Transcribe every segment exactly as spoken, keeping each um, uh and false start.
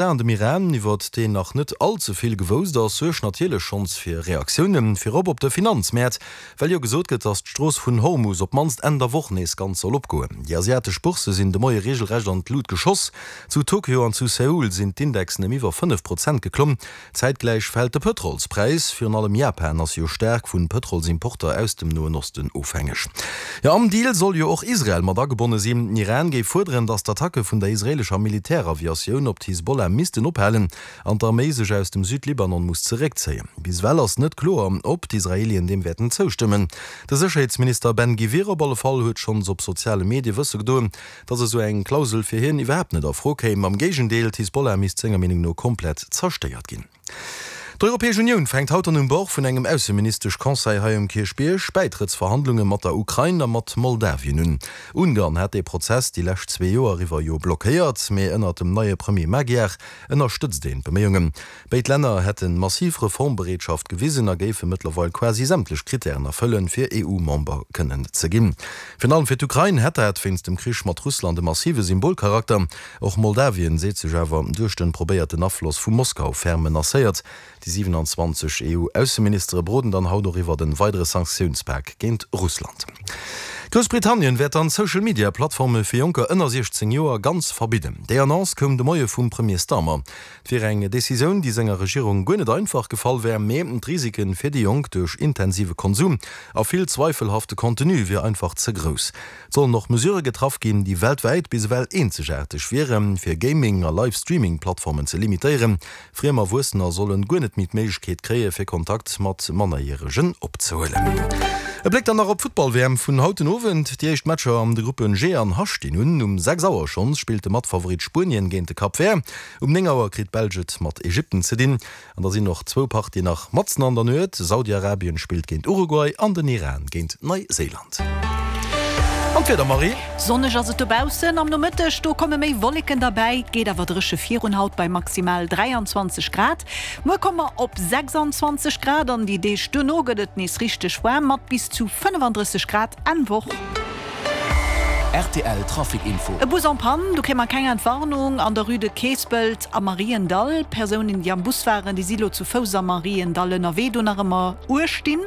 An dem Iran, iwwert deen nach net all ze vill gewousst ass, suergt natierlech schonns fir Reaktiounen, virop op de Finanzmäert, well jo gesot gëtt, datt d'Strooss vun Hormus op d'mannst Enn der Woch nees ganz soll opgoen. Déi asiatesch Boursse sinn de Moie reegelrecht an d'Lut geschoss. Zu Tokio an zu Seoul sinn d'Indexen ëm iwwer fënnef Prozent geklomm. Zäitgläich fält de Pëtrolspräis. Virun allem Japan ass jo staark vu Pëtrolsimporter aus dem Noen Osten ofhängeg. Jo, am Deal soll jo och Israel mat agebonne sinn. Den Iran géif fuerderen, datt d'Attacke vun der israeelescher Militäraviatioun op d'Hisbollah missten ophalen an d'Arméi sech aus dem Südlibanon muss zeréckzéien. Bis ewell ass net kloer, ob d'Israeelien deem wäerten zoustëmmen. De Sécherheetsminister Ben Gvir op alle Fall huet schonns op soziale Medie wësse gedoen, datt esou eng Klausel fir hien iwwerhaapt net a Fro kéim. Am Géigendeel, d'Hisbollah misst senger Meenung no komplett zerstéiert ginn. D'Europäesch Unioun fänkt haut an um Bord vun engem Ausseministesch-Conseil hei um Kierchbierg Bäitrëttsverhandlunge mat der Ukrain a mat Moldawien un. Ungarn hat dee Prozess déi lescht zwee Joer iwwer jo blockéiert, mee ënnert dem neie Premier Magyar ënnerstëtzt een d'Beméiungen. Béid Länner hätte massiv Reformbereetschaft gewisen a géife mëttlerweil quasi sämtlech Krittären erfëllen, fir EU-Member kënnen ze ginn. Virun allem fir d'Ukrain hätt dat wéinst dem Krich mat Russland e massive Symbolcharakter. Och Moldawien seet sech awer duerch de probéierten Afloss vu Moskau ferm menacéiert. Déi siwenanzwanzeg EU-Ausseministere beroden dann haut och iwwert en weidere Sanktiounspak géint Russland. Groussbritannien wäert dann Social Media Plattforme fir Jonker ënner siechzéng Joer ganz verbidden. Déi Annonce koum de Moie vum Premier Starmer. Et wier eng Decisioun, déi senger Regierung guer net einfach gefall wär, mee d'Risike fir déi Jonk duerch intensive Konsum a vill zweifelhafte Contenu wier einfach ze grouss. Et sollen och Mesurë getraff ginn, déi weltwäit bis ewell eenzegaarteg wieren, fir Gaming a Live-Streaming-Plattformen ze limitéieren. Friem Erwuessener sollen guer net méi d'Méiglechkeet kréie fir Kontakt mat Mannerjäregen opzehuelen. E Bléck dann nach op d'Futtball-W M vun haut den Owend. Déi éischt Matcher an de Gruppen G an H stinn un. Um sechs Auer schonns spillt de Matfavorit Spuenien géint de Cap Vert. Um néng Auer kritt d'Belsch et mat Ägypten ze dinn. An da sinn och zwou Partien nach matzen an der Nuet, Saudi-Arabien spillt géint Uruguay an den Iran géint Neiséiland. An d'Wieder, Marie? Sonneg ass et dobaussen, am Nomëtteg do komme méi Wolleken derbäi, et geet awer dréche virun haut bei maximal dräianzwanzeg Grad. Muer komme mer op sechsanzwanzeg Grad an déi Deeg duerno gëtt et nees richteg waarm mat bis zu fënnefandrësseg Grad Enn Woch. R T L Trafic Info. E Bus en panne, do kréie mer keng Entwarnung, an der Rue de Keespelt am Mariendall. Persounen, déi am Bus waren, déi si lo zu Fouss am Mariendall ënnerwee, do nach ëmmer uerstinn.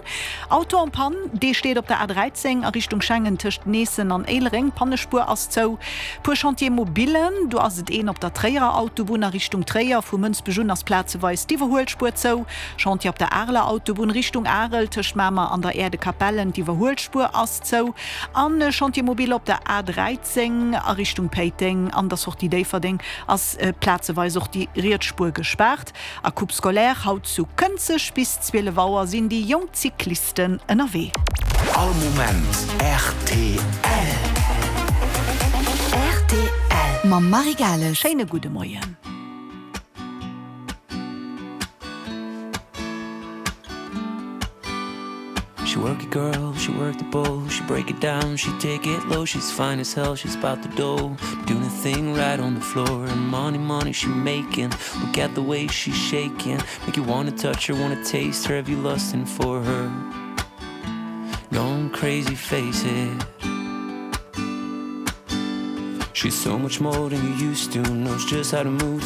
Auto en panne, dee steet op der A dräizéng a Richtung Schengen tëscht Neessen an Éilereng, d'Pannespuer ass zou. Puer Chantier mobilen, do ass et een op der Tréierer Autobunn a Richtung Tréier, vu Mënsbech un ass plazeweis d'Iwwerhuelspuer zou. Chantier op der Areler Autobunn Richtung Arel tëscht Mamer an der Aire de Capellen, d'Iwwerhuelspuer ass zou. An e Chantier mobile op der A dräizéng a Richtung Péiteng, an der Sortie Déifferdeng ass plazeweis och déi riets Spuer gespaart. A Coupe scolaire haut zu Kënzeg, bis zwielef Auer sinn déi jonk Cyclisten ënnerwee. All Moment rtl. Rtl mam Marie Gales. Schéine gudde Moien. She work it girl, she work the bowl, she break it down, she take it low, she's fine as hell, she's bout the dough, doing a thing right on the floor, and money, money she making, look at the way she's shaking, make you wanna touch her, wanna taste her, have you lusting for her, going crazy, face it. She's so much more than you used to, knows just how to move.